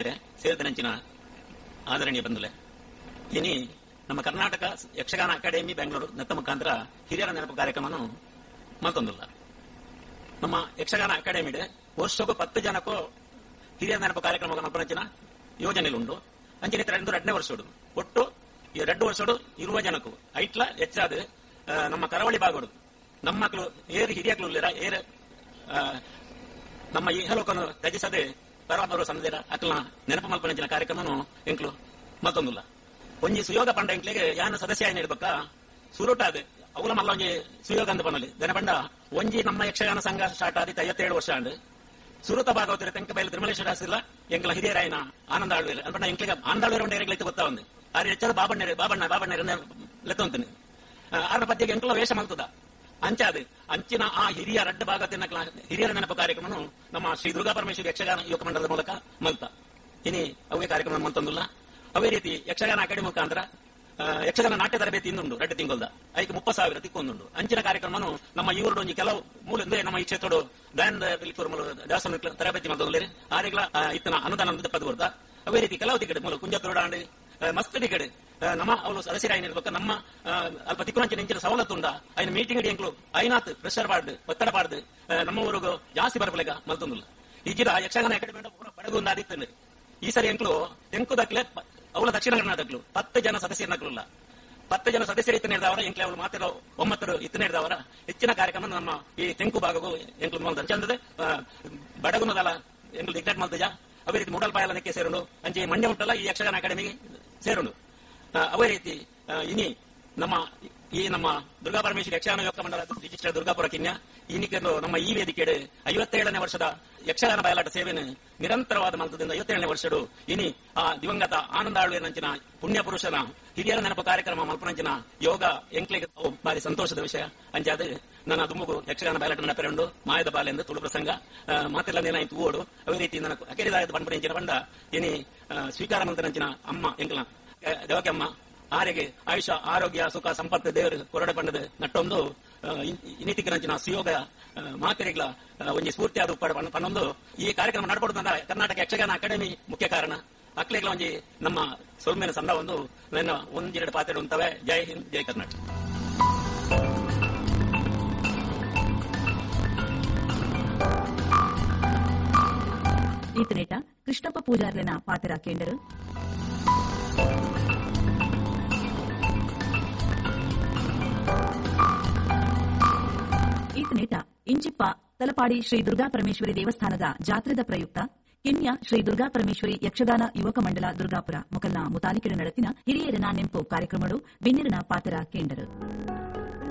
ಸೇರಿದನಂಚಿನ ಆದರಣೀಯ ಬಂಧುಲೆ, ಇನಿ ನಮ್ಮ ಕರ್ನಾಟಕ ಯಕ್ಷಗಾನ ಅಕಾಡೆಮಿ ಬೆಂಗಳೂರು ನೆತ್ತ ಮುಖಾಂತರ ಹಿರಿಯರ ನೆನಪು ಕಾರ್ಯಕ್ರಮವನ್ನು ಮಲ್ತೊಂದಿಲ್ಲ. ನಮ್ಮ ಯಕ್ಷಗಾನ ಅಕಾಡೆಮಿ ವರ್ಷಕ್ಕೂ 10 ಜನಕ್ಕೂ ಹಿರಿಯರ ನೆನಪು ಕಾರ್ಯಕ್ರಮ ಮಲ್ಪನಂಚಿನ ಯೋಜನೆ ಉಂಡು. ಅಂಚಿನ 2 ವರ್ಷಡು ಒಟ್ಟು ಈ 2 ವರ್ಷಡು 20 ಜನಕ್ಕೂ ಐಟ್ಲ ಹೆಚ್ಚಾದ ನಮ್ಮ ಕರಾವಳಿ ಭಾಗಡು ನಮ್ಮ ಮಕ್ಕಳು ಏರು ಹಿರಿಯಕ್ಲು ಏರು ನಮ್ಮ ಇಹಲೋಕನು ತ್ಯಜಿಸದೆ ಪರಮಾತ್ಮರು ಸಂದಿರ ಅಕ್ಲ ನೆನಪು ಮಲ್ಪನಂಚಿನ ಕಾರ್ಯಕ್ರಮನು ಎಂಕ್ಲು ಮತ್ತೊಂದಿಲ್ಲ. ಒಂಜಿ ಸುಯೋಗ ಪಂಡ ಎಂಕ್ಲಿಗೆ ಯಾನ ಸದಸ್ಯ ಏನಿರ್ಬೇಕ ಸುರುಟಾದ ಅವಲ ಮಲ್ಲ ಒಂಜಿ ಸುಯೋಗ ಅಂತ ಪನಲ್ಲಿ ದನ ಪಂಡ ಒಂಜಿ ನಮ್ಮ ಯಕ್ಷಗಾನ ಸಂಘ ಸ್ಟಾರ್ಟ್ ಆದಿತ್ತು 57 ವರ್ಷ ಅಂಡ್ ಸುರುತ ಭಾಗವತರ ತೆಂಕಬೈಲು ತಿರುಮಲೇಶ್ವರ ದಾಸಿಲ್ಲ ಎಂಕ್ಲ ಹಿರಿಯರಾಯನ ಆನಂದ ಆಳ್ವೇರು ಅನ್ಪಂಡ ಎಂಕ್ಲಿಗೆ ಆನಂದ ಆಳ್ವೇರು ಉಂಡ ಎಂಕ್ಲಿಗೆ ಗೊತ್ತಾ ಒಂದು ಆರು ಹೆಚ್ಚಾದ ಬಾಬಣ್ಣರು ಬಾಬಣ್ಣ ಬಾಬಣ್ಣರು ಲೆತ್ತೊಂತೀನಿ ಆರ್ನ ಪದ್ಯಗೆ ಎಂಕ್ಲ ವೇಷ ಮಲ್ತದ ಅಂಚಾದ ಅಂಚಿನ ಆ ಹಿರಿಯ ರಡ್ಡ ಭಾಗ ಹಿರಿಯರ ನೆನಪು ಕಾರ್ಯಕ್ರಮನು ನಮ್ಮ ಶ್ರೀ ದುರ್ಗಾ ಪರಮೇಶ್ವರಿ ಯಕ್ಷಗಾನ ಯುವಕ ಮಂಡಲದ ಮೂಲಕ ಮಲ್ತ ಇನಿ ಅವೇ ಕಾರ್ಯಕ್ರಮ ಮಲ್ತೊಂದಿಲ್ಲ. ಅವೇ ರೀತಿ ಯಕ್ಷಗಾನ ಅಕಾಡೆಮಿ ಮುಖಾಂತರ ಯಕ್ಷಗಾನ ನಾಟ್ಯ ತರಬೇತಿ ಇಂದುಂಡು 2 ತಿಂಗಳದ ಐಕ್ 30,000 ತಿಕ್ಕೊಂದುಂಡು. ಅಂಚಿನ ಕಾರ್ಯಕ್ರಮನು ನಮ್ಮ ಈ ಊರುಡು ಒಂಜಿ ಕೆಲವು ಮೂಲ ನಮ್ಮ ಈ ಕ್ಷೇತ್ರಡು ದಯಾನಂದ ದೇವಸ್ಥಾನ ತರಬೇತಿ ಮಲ್ತೊಂದಿಲ್ಲ ಆರೆಗ್ಲ ಇತ್ತನ ಅನುದಾನ ಪದ ಕೊಡ್ತಾ. ಅವೇ ರೀತಿ ಕೆಲವು ತಿಕ್ಕಡೆ ಮೂಲ ಕುಂಜತ್ತೋಡಾಂಡ್ ಮಸ್ತ್ ತಿಕ್ಕಡೆ ನಮ್ಮ ಅವಳು ಸದಸ್ಯರಾಯಿರ್ಬೇಕು ನಮ್ಮ ಅಲ್ಪ ತಿಕ್ಕುನಂಚಿನ ಇಂಚಿನ ಸವಲತ್ತು ಉಂಡ ಐನ ಮೀಟಿಂಗ್ ಎಂಕ್ಲು ಐನಾತ್ ಪ್ರೆಷರ್ ಪಾಡ್ದು ಒತ್ತಡ ಪಾಡ್ದು ನಮ್ಮ ಊರುಗು ಜಾಸ್ತಿ ಬರಪಲೆಗ ಮಲ್ತೊಂದಿಲ್ಲ. ಈಗಿನ ಯಕ್ಷಗಾನ ಅಕಾಡೆಮಿ ಬಡಗು ಆದಿತ್ತು ಈ ಸರಿ ಎಂಕ್ಲು ತೆಂಕುದಕ್ಲೆ ಅವಳ ದಕ್ಷಿಣ ಕರ್ನಾಟಕಲು 10 ಜನ ಸದಸ್ಯರನ್ನಕ್ಲುಲ್ಲ 10 ಜನ ಸದಸ್ಯರು ಇತ್ತನೇ ಹಿಡಿದವರ ಎಂಕ್ಲೆ ಅವಳು ಮಾತ್ರ 9 ಇತ್ತನೇ ಹಿಡಿದವರ ಹೆಚ್ಚಿನ ಕಾರ್ಯಕ್ರಮ ನಮ್ಮ ಈ ತೆಂಕು ಭಾಗಕ್ಕೂ ಎಂಕ್ಲು ಚಂದದೆ ಬಡಗುನದಲ್ಲ ಎಂಕ್ಲು ದಿಗ್ಗಟ್ ಮಲ್ತಜ. ಅವೇ ರೀತಿ ಮೂಡಲ್ಪಾಯಲನಕ್ಕೆ ಸೇರುಂಡು ಅಂಚೆ ಮಂಡ್ಯ ಉಂಟಲ್ಲ ಈ ಯಕ್ಷಗಾನ ಅಕಾಡೆಮಿಗೆ ಸೇರುಂಡು. ಅವೇ ರೀತಿ ಇನಿ ನಮ್ಮ ಈ ನಮ್ಮ ದುರ್ಗಾ ಪರಮೇಶ್ವರಿ ಯಕ್ಷಗಾನ ಯುವಕ ಮಂಡಲ ರಿಜಿಸ್ಟರ್ ದುರ್ಗಾಪುರ ಕಿನ್ಯ ಇನ್ನಿಕೆಂದು ನಮ್ಮ ಈ ವೇದಿಕೆ 57ನೇ ವರ್ಷದ ಯಕ್ಷಗಾನ ಬಯಲಾಟ ಸೇವೆಯನ್ನು ನಿರಂತರವಾದ ಮಲ್ತದಿಂದ 57ನೇ ವರ್ಷಡು ಇನಿ ಆ ದಿವಂಗತ ಆನಂದ ಆಳ್ವೇನಂಚಿನ ಪುಣ್ಯ ಪುರುಷನ ಹಿರಿಯರ ನೆನಪು ಕಾರ್ಯಕ್ರಮ ಮಲ್ಪನಂಚಿನ ಯೋಗ ಎಂಕ್ಲೆಗೆ ಬಾರಿ ಸಂತೋಷದ ವಿಷಯ. ಅಂಚಾದ ನನ್ನ ದುಮ್ಮಗು ಯಕ್ಷಗಾನ ಬಯಲಾಟ ನೆನಪೆರಂಡು ಮಾಯದ ಬಾಲೆಂದು ತುಳು ಪ್ರಸಂಗ ಮಾತೆಲ್ಲ ನೇನಾಯ್ತು ಓಡು. ಅವೇ ರೀತಿ ನನ್ನ ಅಕೆರಿದಾಯದ ಪಂಪನಂಚಿನ ಬಂಡ ಇನಿ ಸ್ವೀಕಾರ ಮಂತನಂಚಿನ ಅಮ್ಮ ಎಂಕ್ಲ ದೇವಕ್ಕೆ ಅಮ್ಮ ಆರೆಗೆ ಆಯುಷ ಆರೋಗ್ಯ ಸುಖ ಸಂಪತ್ತು ದೇವರು ಕೊರಡೆ ಪಂಡದ ನಟ್ಟೊಂದು ಇನ್ನಿತಿಕರಂಚಿನ ಸುಯೋಗ ಮಾತೆರೆಗ್ಲ ಒಂಜಿ ಸ್ಫೂರ್ತಿಯಾದ ಉಪ್ಪಾಡ ಪನ್ನೊಂದು ಈ ಕಾರ್ಯಕ್ರಮ ನಡ್ಕೊಡುತ್ತಂದ ಕರ್ನಾಟಕ ಯಕ್ಷಗಾನ ಅಕಾಡೆಮಿ ಮುಖ್ಯ ಕಾರಣ. ಅಕ್ಲೆಗ್ಲ ಒಂಜಿ ನಮ್ಮ ಸೊಲ್ಮೇನ ಸಂದ ಒಂದು ನನ್ನ ಒಂದೆರಡು ಪಾತ್ರೆ ಉಂಟವೆ. ಜೈ ಹಿಂದ್, ಜೈ ಕರ್ನಾಟಕ. ಈತನೇಟ ಕೃಷ್ಣಪ್ಪ ಪೂಜಾರ್ಲೆನ ಪಾತ್ರ ಕೇಂಡರು. ಈತನೇಟ ಇಂಚಿಪ್ಪ ತಲಪಾಡಿ ಶ್ರೀ ದುರ್ಗಾ ಪರಮೇಶ್ವರಿ ದೇವಸ್ಥಾನದ ಜಾತ್ರೆದ ಪ್ರಯುಕ್ತ ಕಿನ್ಯ ಶ್ರೀ ದುರ್ಗಾ ಪರಮೇಶ್ವರಿ ಯಕ್ಷಗಾನ ಯುವಕ ಮಂಡಲ ದುರ್ಗಾಪುರ ಮೊಕಲ್ನ ಮುತಾಲಿಕರ ನಡತಿನ ಹಿರಿಯರನ ನೆಂಪು ಕಾರ್ಯಕ್ರಮಡು ಬಿನ್ನಿರನ ಪಾತ್ರ ಕೇಂಡರು.